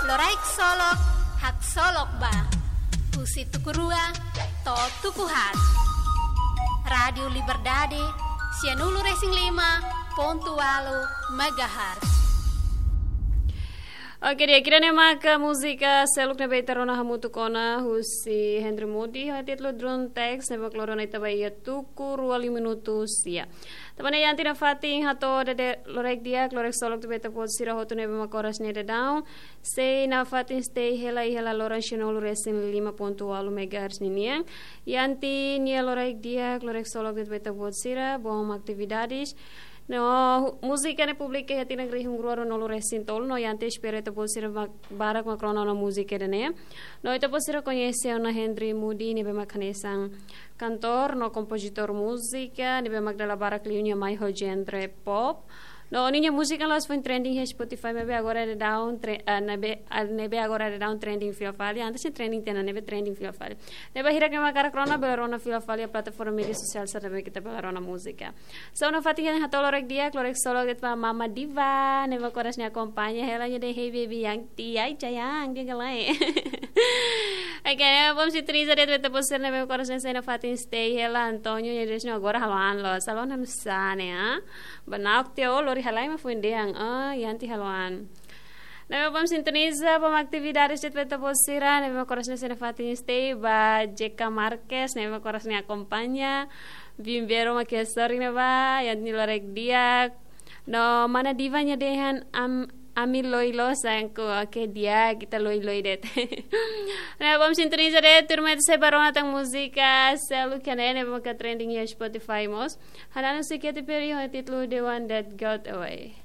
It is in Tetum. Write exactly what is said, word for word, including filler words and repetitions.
Loraik Solok, haksolok ba. Husi tuku rua to'o tuku haat. Rádiu Liberdade, sianulu-resin-lima pontu ualu megahertz. Oke, di'ak, ida-ne'e maka múzika seluk ne'ebé ita rona hamutuk ona husi Henry Moody, ho títulu Drone Text, ne'ebé mak lori ona ita ba iha tuku rua liu minutu sia. Tanba ne'e iha ita-nia fatin hato'o de'it loraik di'ak, loraik solok ba ita-boot sira hotu ne'ebé mak oras ne'e daudaun sei nafatin stay hela iha la loran sianulu-resin-lima pontu ualu megahertz ninian. Iha ita-nia loraik di'ak, loraik solok ba ita-boot sira, bom atividades. No, hu-, múzika ne'e publika iha tinan rihun rua ruanulu-resin-tolu, no iha ita espera ita-boot sira ba-, barak mak rona ona múzika ida-ne'e. No ita-boot sira koñese ona Henry Moody ne'ebé mak hanesan kantór no kompozitór múzika, ne'ebé mak dala barak liu nia mai ho genre pop. No ninia múzika la'ós foin trending iha Spotify, maibé agora daudaun tre-, ah, ne'ebé, ah, ne'ebé agora daudaun trending fila fali, antes ne'e trending tiha ona, ne'ebé trending fila fali. Ne'ebé hirak ne'ebé mak hakarak rona, bele rona fila fali iha plataforma média sosiál sira ne'ebé mak ita bele rona múzika. So, nafatin hato'o loraik di'ak, loraik solok de'it ba Mama Diva, ne'ebé mak oras ne'e akompaña hela nia dehan "Hey baby, yang ti ai jayang, dia galai." Oke, ne'e bom sintoniza de'it ba ita-boot sira ne'ebé mak oras ne'e sei nafatin stay hela, Antonio nia dehan agora halo an loos, halo an hanesan ne'e, ah. Ba nauk tiha ó lori halai mak foin dehan, ah, iha ita halo an. Ne'ebé bom sintoniza, bom atividades de'it ba ita-boot sira ne'ebé mak oras ne'e sei nafatin stay, ba J K Marques, ne'ebé mak oras ne'e akompaña, Bimbero mak iha sorin ne'ebá, iha ita-nia loraik di'ak. No Mana Diva nia dehan am-, ami loi loos sangku, oke di'ak, ita loi loi de'it. Ne'ebé bom sintoniza de'it, tuirmai ita sei bá rona tan múzika seluk iha ne'e, ne'ebé mak trending iha Spotify mós. Hanan husi Katy Perry ho títulu The One That Got Away.